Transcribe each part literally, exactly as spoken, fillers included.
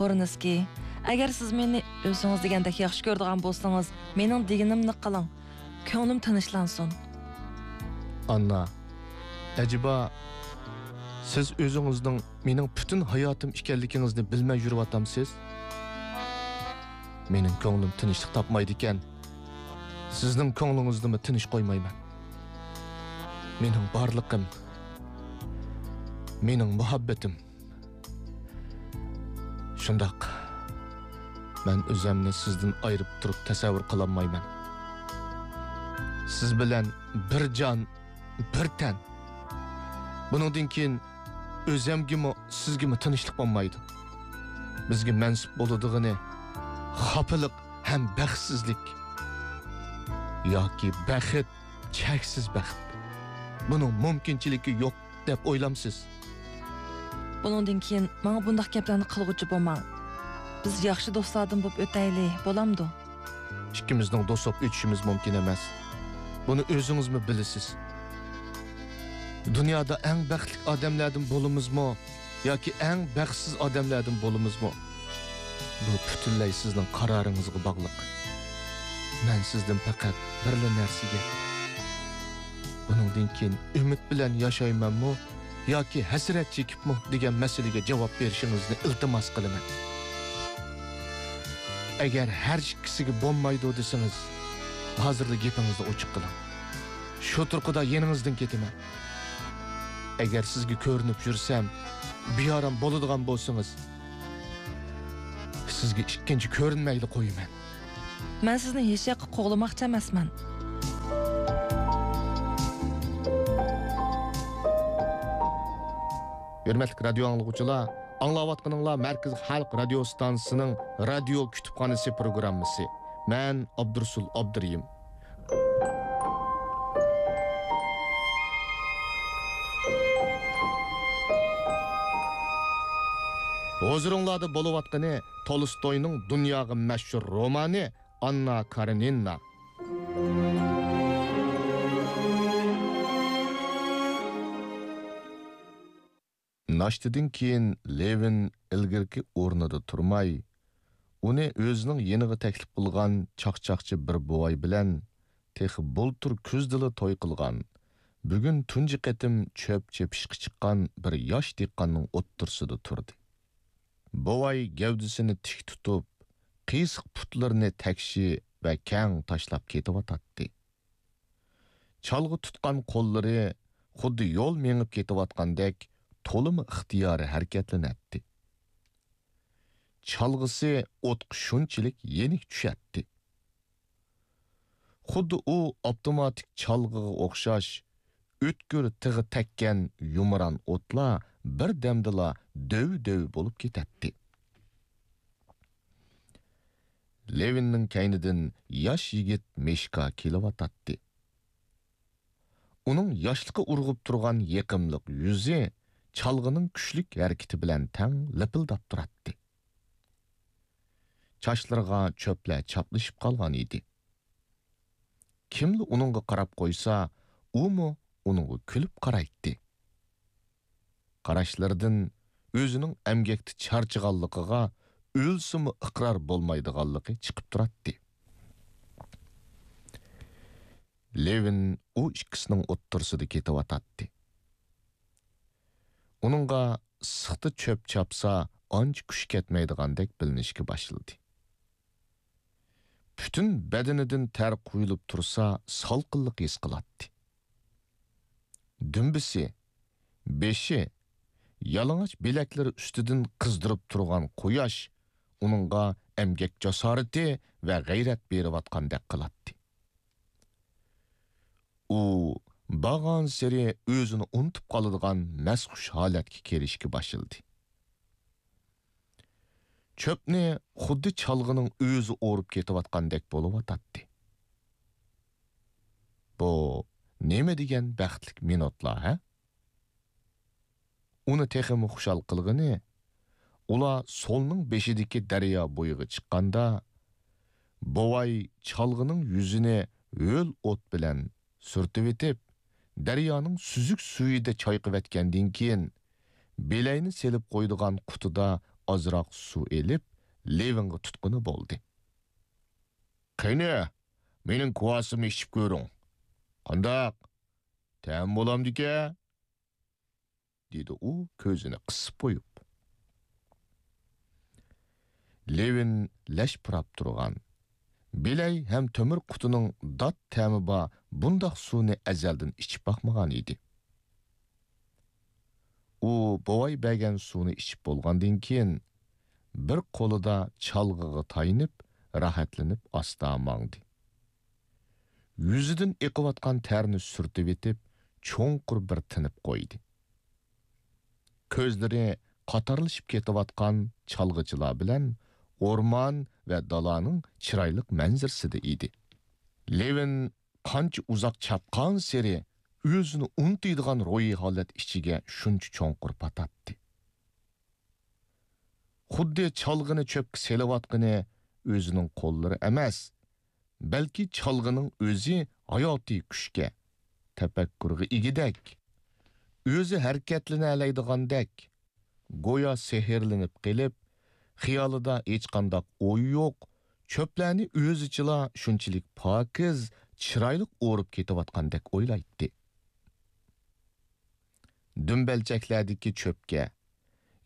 ۋورنىسكىي، ئەگەر سىز مېنى ئۆزىڭىز دېگەندەك ياخشى كۆرىدىغان بولسىڭىز، مېنىڭ دېگىنىمنى قىلىڭ. كۆڭلۈم تىنچلانسۇن. ئاننا، ئەجەبا، سىز ئۆزىڭىزنىڭ مېنىڭ پۈتۈن ھاياتىم ئىكەنلىكىڭىزنى بىلمەي يۈرۈۋاتامسىز؟ مېنىڭ كۆڭلۈم تىنچلىق تاپمايدىكەن. سىزنىڭ كۆڭلىڭىزنىمۇ تىنچ قويمايمەن. مېنىڭ بارلىقىم، مېنىڭ مۇھەببىتىم. شۇنداق، مەن ئۆزەمنى سىزدىن ئايرىپ تۇرۇپ تەسەۋۋۇر قىلالمايمەن. سىز بىلەن بىر جان، بىر تەن. بۇنىڭدىن كېيىن ئۆزەمگىمۇ، سىزگىمۇ تىنچلىق بولمايدۇ. بىزگە مەنسۇپ بولىدىغىنى خاپىلىق ھەم بەختسىزلىك. ياكى بەخت، چەكسىز بەخت. بۇنىڭ مۇمكىنچىلىكى يوق دەپ ئويلامسىز؟ بۇنىڭدىن كېيىن ماڭا بۇنداق گەپلەرنى قىلغۇچى بولماڭ. بىز ياخشى دوستلاردىن بولۇپ ئۆتەيلى، بولامدۇ؟ ئىككىمىزنىڭ دوست بولۇپ ئۆتۈشىمىز مۇمكىن ئەمەس. بۇنى ئۆزىڭىزمۇ بىلىسىز. دۇنيادا ئەڭ بەختلىك ئادەملەردىن بولىمىزمۇ ياكى ئەڭ بەختسىز ئادەملەردىن بولىمىزمۇ، بۇ پۈتۈنلەي سىزنىڭ قارارىڭىزغا باغلىق. مەن سىزدىن پەقەت بىرلا نەرسىگە، بۇنىڭدىن كېيىن ئۈمىد بىلەن ياشايمەنمۇ ياكى ھەسرەت چېكىپمۇ دېگەن مەسىلىگە جاۋاب بېرىشىڭىزنى ئىلتىماس قىلىمەن. ئەگەر ھەر ئىككىسىگە بولمايدۇ دېسىڭىز، ھازىرلا گېپىڭىزنى ئوچۇق قىلىڭ. شۇ تۇرقىدا يېنىڭىزدىن كېتىمەن. ئەگەر سىزگە كۆرۈنۈپ يۈرسەم، بىئارام بولىدىغان بولسىڭىز، سىزگە ئىككىنچى كۆرۈنمەيلا قويىمەن. مەن سىزنى ھېچياققا قوغلىماقچى ئەمەسمەن. ھۆرمەتلىك رادىيو ئاڭلىغۇچىلار، ئاڭلاۋاتقىنىڭلار مەركىزىي خەلق رادىيو ئىستانسىسىنىڭ رادىيو كۇتۇپخانىسى پروگراممىسى. مەن ئابدۇرۇسۇل ئابدۇرېھىم. ھۇزۇرۇڭلاردا بولۇۋاتقىنى تولستوينىڭ دۇنياغا مەشھۇر رومانى ئاننا كارېنىنا. ناشتىدىن كېيىن لېۋىن ئىلگىرىكى ئورنىدا تۇرماي، ئۇنى ئۆزىنىڭ يېنىغا تەكلىپ قىلغان چاقچاقچى بىر بوۋاي بىلەن تېخى بۇلتۇر كۈزدىلا توي قىلغان، بۈگۈن تۇنجى قېتىم چۆپ چېپىشقا چىققان بىر ياش دېھقاننىڭ ئوتتۇرىسىدا تۇردى. بوۋاي گەۋدىسىنى تىك تۇتۇپ، قىيسىق پۇتلىرىنى تەكشى ۋە كەڭ تاشلاپ كېتىۋاتاتتى. چالغا تۇتقان قوللىرى خۇددى يول مېڭىپ كېتىۋاتقاندەك تولىمۇ ئىختىيارىي ھەرىكەتلىنەتتى. چالغىسى ئوتقا شۇنچىلىك يېنىك چۈشەتتى. خۇددى ئۇ ئاپتوماتىك چالغىغا ئوخشاش ئۆتكۈر تىغى تەگكەن يۇمران ئوتلار بىر دەمدىلا دۆۋ-دۆۋ بولۇپ كېتەتتى. لېۋىننىڭ كەينىدىن ياش يىگىت مىشكا كېلىۋاتاتتى. ئۇنىڭ ياشلىقى ئۇرغۇپ تۇرغان يېقىملىق يۈزى چالغىنىڭ كۈچلۈك ھەرىكىتى بىلەن تەڭ لىپىلداپ تۇراتتى. چاچلىرىغا چۆپلەر چاپلىشىپ قالغان ئىدى. كىملا ئۇنىڭغا قاراپ قويسا، ئۇمۇ ئۇنىڭغا كۈلۈپ قارايتتى. قاراشلىرىدىن ئۆزىنىڭ ئەمگەكتە چارچىغانلىقىغا ئۆلسىمۇ ئىقرار بولمايدىغانلىقى چىقىپ تۇراتتى. لېۋىن ئۇ ئىككىسىنىڭ ئوتتۇرىسىدا كېتىۋاتاتتى. ئۇنىڭغا ئىسسىقتا چۆپ چاپسا ئانچە كۈچى كەتمەيدىغاندەك بىلىنىشكە باشلىدى. پۈتۈن بەدىنىدىن تەر قۇيۇلۇپ تۇرسا سالقىنلىق ھېس قىلاتتى. دۈمبىسى، بېشى، يالىڭاچ بىلەكلىرى ئۈستىدىن قىزدۇرۇپ تۇرغان قۇياش ئۇنىڭغا ئەمگەك جاسارىتى ۋە غەيرەت بېرىۋاتقاندەك قىلاتتى. ئۇ بارغانسېرى ئۆزىنى ئۇنتۇپ قالىدىغان مەستخۇش ھالەتكە كىرىشكە باشلىدى. چۆپنى خۇددى چالغىنىڭ ئۆزى ئورۇپ كېتىۋاتقاندەك بولۇۋاتاتتى. بۇ نېمە دېگەن بەختلىك مىنۇتلار، ھە؟ ئۇنى تېخىمۇ خۇشال قىلغىنى، ئۇلار سولنىڭ بېشىدىكى دەريا بويىغا چىققاندا، بوۋاي چالغىنىڭ يۈزىنى ھۆل ئوت بىلەن سۈرتۈۋېتىپ، دەريانىڭ سۈزۈك سۈيىدە چايقىۋەتكەندىن كېيىن، بېلەينى سېلىپ قويىدىغان قۇتىدا ئازراق سۇ ئېلىپ، لېۋىنغا تۇتقىنى بولدى. «قېنى، مېنىڭ كۋاسىمنى ئىچىپ كۆرۈڭ. قانداق؟ تەم بولامدىكەن؟» دېدى ئۇ كۆزىنى قىسىپ قويۇپ. لېۋىن لەش پۇراپ تۇرغان، بىلەي ھەم تۆمۈر قۇتىنىڭ دات تەمى بار بۇنداق سۇنى ئەزەلدىن ئىچىپ باقمىغان ئىدى. ئۇ بوۋاي بەرگەن سۇنى ئىچىپ بولغاندىن كېيىن، بىر قولىدا چالغىغا تايىنىپ، راھەتلىنىپ ئاستا ماڭدى. يۈزىدىن ئېقىۋاتقان تەرنى سۈرتۈۋېتىپ، چوڭقۇر بىر تىنىپ قويدى. كۆزلىرى قاتارلىشىپ كېتىۋاتقان چالغىچىلار بىلەن ئورمان ۋە دالانىڭ چىرايلىق مەنزىرىسىدە ئىدى. لېۋىن قانچە ئۇزاق چاپقانسېرى ئۆزىنى ئۇنتۇيدىغان روھىي ھالەت ئىچىگە شۇنچە چوڭقۇر پاتاتتى. خۇددى چالغىنى چۆپكە سېلىۋاتقىنى ئۆزىنىڭ قوللىرى ئەمەس، بەلكى چالغىنىڭ ئۆزى ھاياتىي كۈچكە، تەپەككۇرغا ئىگىدەك، ئۆزى ھەرىكەتلىنەلەيدىغاندەك، گويا سېھىرلىنىپ قېلىپ، خىيالىدا ھېچقانداق ئوي يوق، چۆپلەرنى ئۆزىچىلا شۇنچىلىك پاكىز، چىرايلىق ئورۇپ كېتىۋاتقاندەك ئويلايتتى. دۈمبەلچەكلەردىكى چۆپكە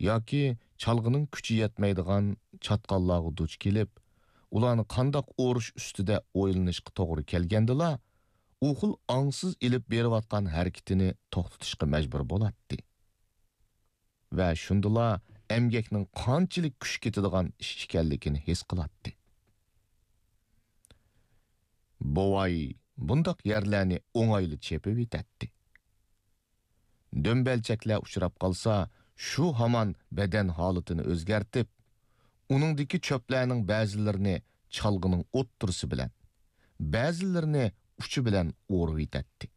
ياكى چالغىنىڭ كۈچى يەتمەيدىغان چاتقاللارغا دۇچ كېلىپ، ئۇلارنى قانداق ئورۇش ئۈستىدە ئويلىنىشقا توغرا كەلگەندىلا، ئۇ خىل ئاڭسىز ئېلىپ بېرىۋاتقان ھەرىكىتىنى توختىتىشقا مەجبۇر بولاتتى. ۋە شۇندىلا ئەمگەكنىڭ قانچىلىك كۈچ كېتىدىغان ئىش ئىكەنلىكىنى ھېس قىلاتتى. بوۋاي بۇنداق يەرلەرنى ئوڭايلا چېپىۋېتەتتى. دۈمبەلچەكلەر ئۇچراپ قالسا، شۇ ھامان بەدەن ھالىتىنى ئۆزگەرتىپ، ئۇنىڭدىكى چۆپلەرنىڭ بەزىلىرىنى چالغىنىڭ ئوتتۇرىسى بىلەن، بەزىلىرىنى ئۇچى بىلەن ئورۇۋېتەتتى.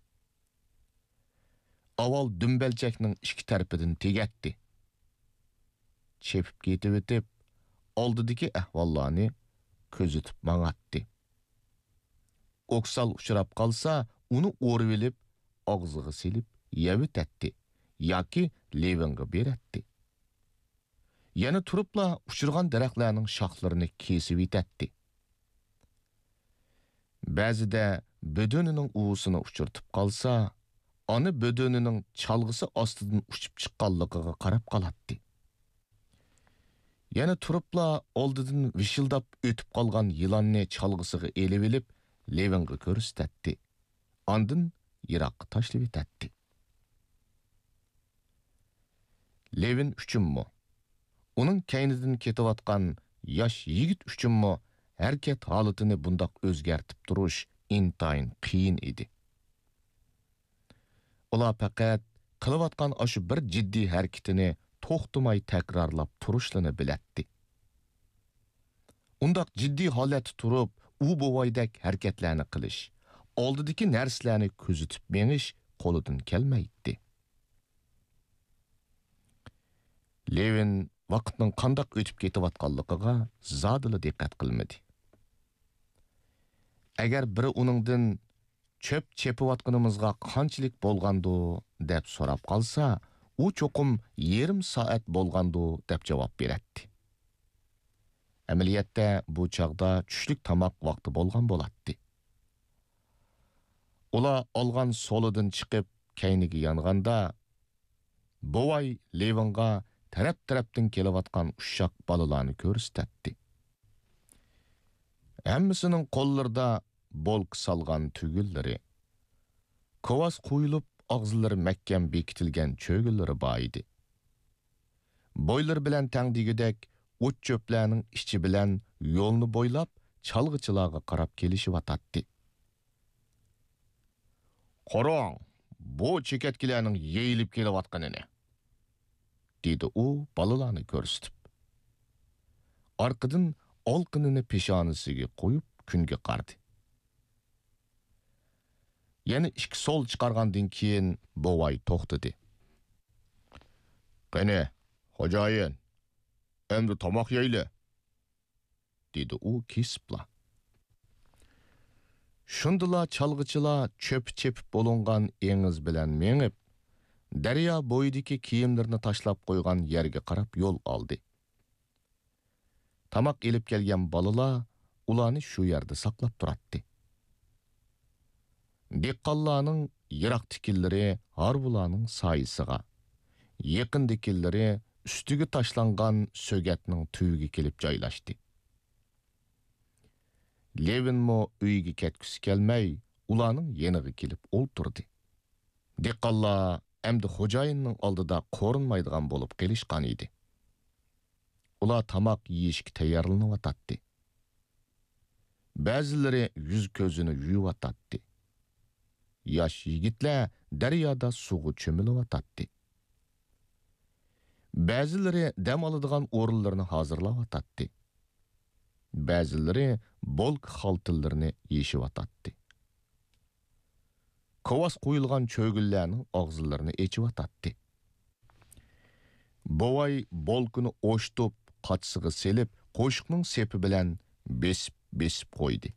ئاۋۋال دۈمبەلچەكنىڭ ئىككى تەرىپىدىن تېگەتتى. چېپىپ كېتىۋېتىپ، ئالدىدىكى ئەھۋاللارنى كۆزىتىپ ماڭاتتى. ئوكسال ئۇچراپ قالسا، ئۇنى ئورىۋېلىپ، ئاغزىغا سېلىپ يەۋېتەتتى ياكى لېۋىنغا بېرەتتى. يەنە تۇرۇپلا ئۇچرىغان دەرەخلەرنىڭ شاخلىرىنى كېسىۋېتەتتى. بەزىدە بۆدۈنىنىڭ ئۇۋىسىنى ئۇچرىتىپ قالسا، ئانا بۆدۈنىنىڭ چالغىسى ئاستىدىن ئۇچۇپ چىققانلىقىغا قاراپ قالاتتى. يەنە تۇرۇپلا ئالدىدىن ۋىشىلداپ ئۆتۈپ قالغان يىلاننى چالغىسىغا ئېلىۋېلىپ، لېۋىنغا كۆرسىتەتتى. ئاندىن يىراققا تاشلىۋېتەتتى. لېۋىن ئۈچۈنمۇ، ئۇنىڭ كەينىدىن كېتىۋاتقان ياش يىگىت ئۈچۈنمۇ ھەرىكەت ھالىتىنى بۇنداق ئۆزگەرتىپ تۇرۇش ئىنتايىن قىيىن ئىدى. ئۇلار پەقەت قىلىۋاتقان ئاشۇ بىر جىددىي ھەرىكىتىنى توختىماي تەكرارلاپ تۇرۇشلىرىنى بىلەتتى. ئۇنداق جىددىي ھالەتتە تۇرۇپ، ئۇ بوۋايدەك ھەرىكەتلەرنى قىلىش، ئالدىدىكى نەرسىلەرنى كۆزىتىپ مېڭىش قولىدىن كەلمەيتتى. لېۋىن ۋاقىتنىڭ قانداق ئۆتۈپ كېتىۋاتقانلىقىغا زادىلا دىققەت قىلمىدى. ئەگەر بىرى ئۇنىڭدىن «چۆپ چېپىۋاتقىنىمىزغا قانچىلىك بولغاندۇ؟» دەپ سوراپ قالسا، ئۇ چوقۇم «يېرىم سائەت بولغاندۇ» دەپ جاۋاب بېرەتتى. ئەمەلىيەتتە بۇ چاغدا چۈشلۈك تاماق ۋاقتى بولغان بولاتتى. ئۇلار ئالغان سولىدىن چىقىپ، كەينىگە يانغاندا، بوۋاي لېۋىنغا تەرەپ-تەرەپتىن كېلىۋاتقان ئۇششاق بالىلارنى كۆرسىتەتتى. ھەممىسىنىڭ قوللىرىدا بولكا سالغان تۈگۈنلىرى، كوۋاس قويۇلۇپ، ئاغزىلىرى مەھكەم بېكىتىلگەن چۆگىلىرى بار ئىدى. بويلىرى بىلەن تەڭ دېگۈدەك ئوت-چۆپلەرنىڭ ئىچى بىلەن يولنى بويلاپ، چالغىچىلارغا قاراپ كېلىشىۋاتاتتى. «قاراڭ، بۇ چېكەتكىلەرنىڭ يېيىلىپ كېلىۋاتقىنىنى!» دېدى ئۇ بالىلارنى كۆرسىتىپ. ئارقىدىن ئالىقىنىنى پېشانىسىگە قويۇپ، كۈنگە قارىدى. يەنە ئىككى سول چىقارغاندىن كېيىن بوۋاي توختىدى. «قېنى، خوجايىن، ئەمدى تاماق يەيلى!» دېدى ئۇ كېسىپلا. شۇندىلا چالغىچىلار چۆپى چېپىپ بولۇنغان ئېڭىز بىلەن مېڭىپ، دەريا بويىدىكى كىيىملىرىنى تاشلاپ قويغان يەرگە قاراپ يول ئالدى. تاماق ئېلىپ كەلگەن بالىلار ئۇلارنى شۇ يەردە ساقلاپ تۇراتتى. دېھقانلارنىڭ يىراقتىكىلىرى ھارۋىلارنىڭ سايىسىغا، يېقىندىكىلىرى ئۈستىگە تاشلانغان سۆگەتنىڭ تۈۋىگە كېلىپ جايلاشتى. لېۋىنمۇ ئۆيىگە كەتكۈسى كەلمەي، ئۇلارنىڭ يېنىغا كېلىپ ئولتۇردى. دېھقانلار ئەمدى خوجايىننىڭ ئالدىدا قورۇنمايدىغان بولۇپ قېلىشقان ئىدى. ئۇلار تاماق يېيىشكە تەييارلىنىۋاتاتتى. بەزىلىرى يۈز-كۆزىنى يۇيۇۋاتاتتى. ياش يىگىتلەر دەريادا سۇغا چۆمۈلۈۋاتاتتى. بەزىلىرى دەم ئالىدىغان ئورۇنلىرىنى ھازىرلاۋاتاتتى. بەزىلىرى بولكا خالتىلىرىنى يېشىۋاتاتتى. كاۋاس قويۇلغان چۆگۈنلەرنىڭ ئاغزىلىرىنى ئېچىۋاتاتتى. بوۋاي بولكىنى ئوشتۇپ، قاچىسىغا سېلىپ، قوشۇقنىڭ سېپى بىلەن بېسىپ-بېسىپ قويدى.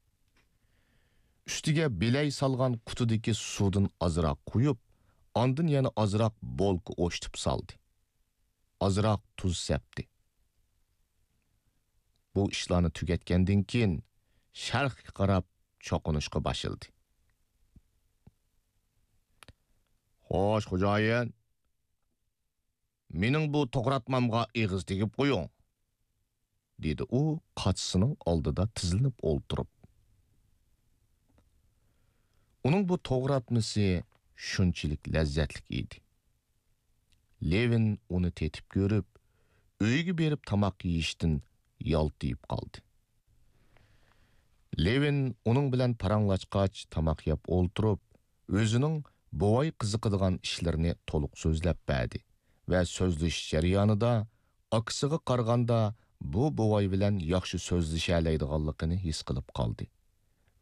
ئۈستىگە بىلەي سالغان قۇتىدىكى سۇدىن ئازراق قۇيۇپ، ئاندىن يەنە ئازراق بولكا ئوشتۇپ سالدى. ئازراق تۇز سەپتى. بۇ ئىشلارنى تۈگەتكەندىن كېيىن، شەرققە قاراپ چوقۇنۇشقا باشلىدى. «خوش، خوجايىن، مېنىڭ بۇ توغراتمامغا ئېغىز تېگىپ قويۇڭ»، دېدى ئۇ قاچىسىنىڭ ئالدىدا تىزلىنىپ ئولتۇرۇپ. ئۇنىڭ بۇ توغراتمىسى شۇنچىلىك لەززەتلىك ئىدى. لېۋىن ئۇنى تېتىپ كۆرۈپ، ئۆيىگە بېرىپ تاماق يېيىشتىن يالتىيىپ قالدى. لېۋىن ئۇنىڭ بىلەن پاراڭلاشقاچ، تاماق يەپ ئولتۇرۇپ، ئۆزىنىڭ بوۋاي قىزىقىدىغان ئىشلىرىنى تولۇق سۆزلەپ بەردى ۋە سۆزلىشىش جەريانىدا ئاكىسىغا قارىغاندا بۇ بوۋاي بىلەن ياخشى سۆزلىشەلەيدىغانلىقىنى ھېس قىلىپ قالدى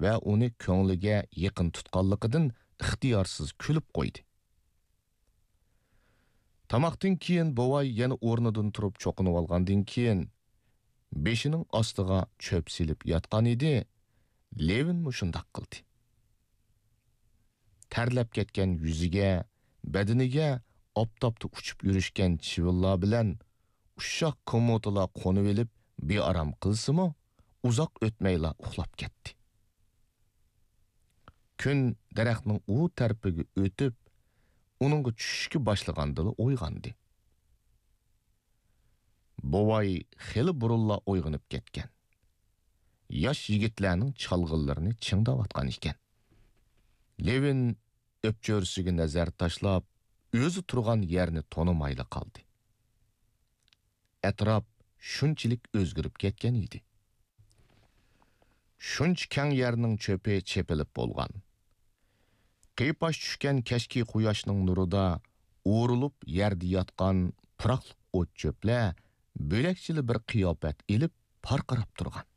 ۋە ئۇنى كۆڭلىگە يېقىن تۇتقانلىقىدىن ئىختىيارسىز كۈلۈپ قويدى. تاماقتىن كېيىن بوۋاي يەنە ئورنىدىن تۇرۇپ چوقۇنۇۋالغاندىن كېيىن، بېشىنىڭ ئاستىغا چۆپ سېلىپ ياتقان ئىدى، لېۋىنمۇ شۇنداق قىلدى. تەرلەپ كەتكەن يۈزىگە، بەدىنىگە ئاپتاپتا ئۇچۇپ يۈرۈشكەن چىۋىنلار بىلەن ئۇششاق كومۇتىلار قونۇۋېلىپ، بىئارام قىلسىمۇ، ئۇزاق ئۆتمەيلا ئۇخلاپ كەتتى. كۈن دەرەخنىڭ ئۇ تەرىپىگە ئۆتۈپ، ئۇنىڭغا چۈشۈشكە باشلىغاندىلا ئويغاندى. بوۋاي خېلى بۇرۇنلا ئويغىنىپ كەتكەن. ياش يىگىتلەرنىڭ چالغىلىرىنى چىڭداۋاتقان ئىكەن. لېۋىن ئۆپچۆرىسىگە نەزەر تاشلاپ، ئۆزى تۇرغان يەرنى تونۇمايلا قالدى. ئەتراپ شۇنچىلىك ئۆزگىرىپ كەتكەن ئىدى. شۇنچە كەڭ يەرنىڭ چۆپى چېپىلىپ بولغان. قىيپاش چۈشكەن كەچكى قۇياشنىڭ نۇرىدا ئورۇلۇپ يەردە ياتقان پۇراقلىق ئوت-چۆپلەر بۆلەكچىلا بىر قىياپەت ئېلىپ پارقىراپ تۇرغان.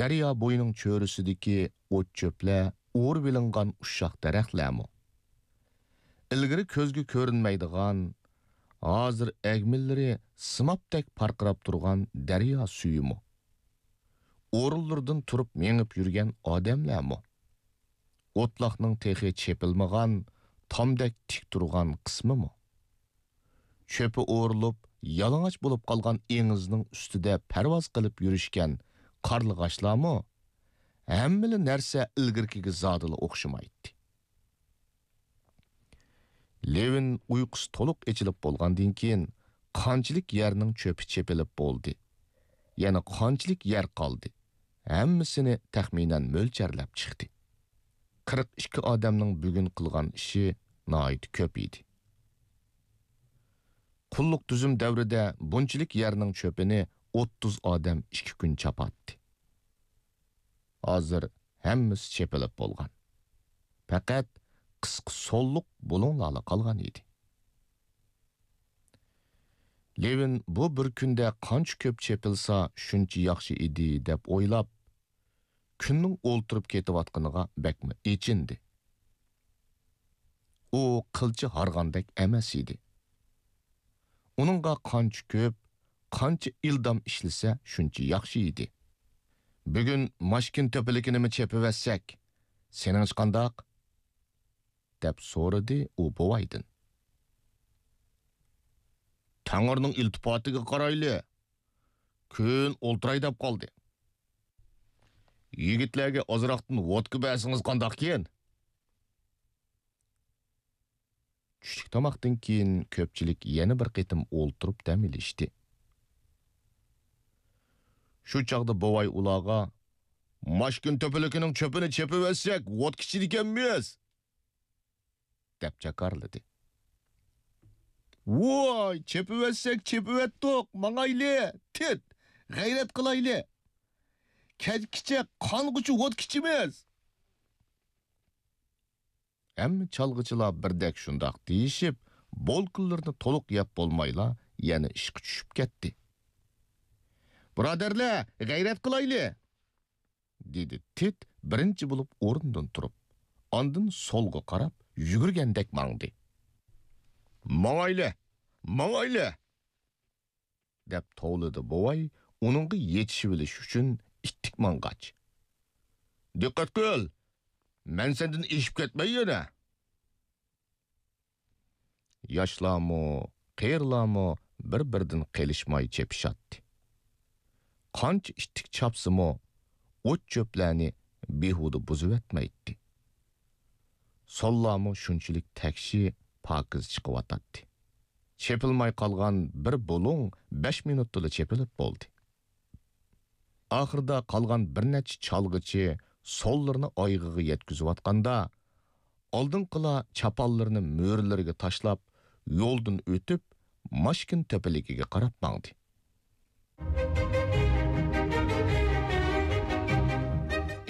دەريا بويىنىڭ چۆرىسىدىكى ئوت-چۆپلەر ئورۇۋېلىنغان ئۇششاق دەرەخلەرمۇ، ئىلگىرى كۆزگە كۆرۈنمەيدىغان، ھازىر ئەگمىلىرى سىمابتەك پارقىراپ تۇرغان دەريا سۈيىمۇ، ئورۇنلىرىدىن تۇرۇپ مېڭىپ يۈرگەن ئادەملەرمۇ، ئوتلاقنىڭ تېخى چېپىلمىغان، تامدەك تىك تۇرغان قىسمىمۇ، چۆپى ئورۇلۇپ، يالىڭاچ بولۇپ قالغان ئېڭىزنىڭ ئۈستىدە پەرۋاز قىلىپ يۈرۈشكەن قارلىغاچلارمۇ، ھەممىلا نەرسە ئىلگىرىكىگە زادىلا ئوخشىمايتتى. لېۋىن ئۇيقۇسى تولۇق ئېچىلىپ بولغاندىن كېيىن، قانچىلىك يەرنىڭ چۆپى چېپىلىپ بولدى، يەنە قانچىلىك يەر قالدى، ھەممىسىنى تەخمىنەن مۆلچەرلەپ چىقتى. قىرىق ئىككى ئادەمنىڭ بۈگۈن قىلغان ئىشى ناھايىتى كۆپ ئىدى. قۇللۇق تۈزۈم دەۋرىدە بۇنچىلىك يەرنىڭ چۆپىنى ئوتتۇز ئادەم ئىككى كۈن چاپاتتى. ھازىر ھەممىسى چېپىلىپ بولغان. پەقەت قىسقا سوللۇق بۇلۇڭلارلا قالغان ئىدى. لېۋىن بۇ بىر كۈندە قانچە كۆپ چېپىلسا، شۇنچە ياخشى ئىدى، دەپ ئويلاپ، كۈننىڭ ئولتۇرۇپ كېتىۋاتقىنىغا بەكمۇ ئېچىندى. ئۇ قىلچە ھارغاندەك ئەمەس ئىدى. ئۇنىڭغا قانچە كۆپ، قانچە ئىلدام ئىشلىسە، شۇنچە ياخشى ئىدى. «بۈگۈن ماشكىن تۆپىلىكىنىمۇ چېپىۋەتسەك، سېنىڭچە قانداق؟» دەپ سورىدى ئۇ بوۋايدىن. «تەڭرىنىڭ ئىلتىپاتىغا قارايلى، كۈن ئولتۇراي دەپ قالدى. يىگىتلەرگە ئازراقتىن ۋودكا بەرسىڭىز قانداقكىن؟ چۈشلۈك تاماقتىن كېيىن كۆپچىلىك يەنە بىر قېتىم ئولتۇرۇپ دەم ئېلىشتى. شۇ چاغدا بوۋاي ئۇلارغا، «ماشكىن تۆپىلىكىنىڭ چۆپىنى چېپىۋەتسەك، ۋودكا ئىچىدىكەنمىز!» دەپ جاكارلىدى. «ۋاي، چېپىۋەتسەك چېپىۋەتتۇق، ماڭايلى! تىت، غەيرەت قىلايلى! كەچكىچە قانغۇچە ۋودكا ئىچىمىز!» ھەممە چالغۇچىلار بىردەك شۇنداق دېيىشىپ، بولكىلىرىنى تولۇق يەپ بولمايلا، يەنە ئىشقا چۈشۈپ كەتتى. «بۇرادەرلەر، غەيرەت قىلايلى!» دېدى تىت بىرىنچى بولۇپ ئورنىدىن تۇرۇپ، ئاندىن سولغا قاراپ يۈگۈرگەندەك ماڭدى. «ماڭايلى! ماڭايلى!» دەپ توۋلىدى بوۋاي ئۇنىڭغا يېتىشىۋېلىش ئۈچۈن ئىتتىك ماڭغاچ. «دىققەت قىل! مەن سەندىن ئېشىپ كەتمەي يەنە!» ياشلارمۇ، قېرىلارمۇ بىر-بىرىدىن قېلىشماي چېپىشاتتى. قانچە ئىتتىك چاپسىمۇ، ئوت-چۆپلەرنى بىھۇدە بۇزۇۋەتمەيتتى. سوللارمۇ شۇنچىلىك تەكشى، پاكىز چىقىۋاتاتتى. چېپىلماي قالغان بىر بۇلۇڭ بەش مىنۇتتىلا چېپىلىپ بولدى. ئاخىرىدا قالغان بىر نەچچە چالغۇچى سوللىرىنى ئايىغىغا يەتكۈزۈۋاتقاندا، ئالدىنقىلار چاپانلىرىنى مۈرىلىرىگە تاشلاپ، يولدىن ئۆتۈپ، ماشكىن تۆپىلىكىگە قاراپ ماڭدى.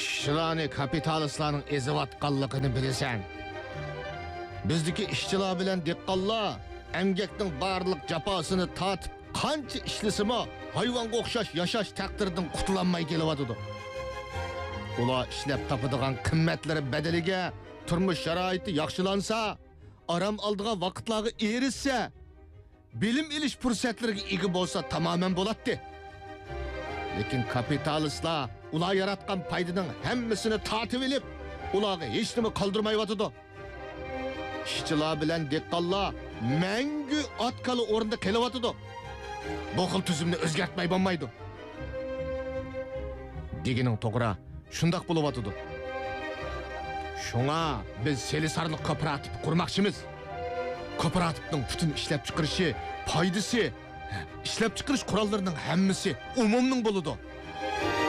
ئىشچىلارنى كاپىتالىستلارنىڭ ئېزىۋاتقانلىقىنى بىلىسەن. بىزدىكى ئىشچىلار بىلەن دېھقانلار ئەمگەكنىڭ بارلىق جاپاسىنى تارتىپ، قانچە ئىشلىسىمۇ، ھايۋانغا ئوخشاش ياشاش تەقدىرىدىن قۇتۇلالماي كېلىۋاتىدۇ. ئۇلار ئىشلەپ تاپىدىغان قىممەتلىرى بەدىلىگە تۇرمۇش شارائىتى ياخشىلانسا، ئارام ئالىدىغان ۋاقىتلارغا ئېرىشسە، بىلىم ئېلىش پۇرسەتلىرىگە ئىگە بولسا تامامەن بولاتتى. لېكىن كاپىتالىستلار ئۇلار ياراتقان پايدىنىڭ ھەممىسىنى تارتىۋېلىپ، ئۇلارغا ھېچنېمە قالدۇرمايۋاتىدۇ. ئىشچىلار بىلەن دېھقانلار مەڭگۈ ئات-كالا ئورنىدا قېلىۋاتىدۇ. بۇ خىل تۈزۈمنى ئۆزگەرتمەي بولمايدۇ. دېگىنىڭ توغرا، شۇنداق بولۇۋاتىدۇ. شۇڭا بىز سېلىسارلىق كوپىراتىپى قۇرماقچىمىز. كوپىراتىپنىڭ پۈتۈن ئىشلەپچىقىرىشى، پايدىسى، ئىشلەپچىقىرىش قوراللىرىنىڭ ھەممىسى ئومۇمنىڭ بولىدۇ.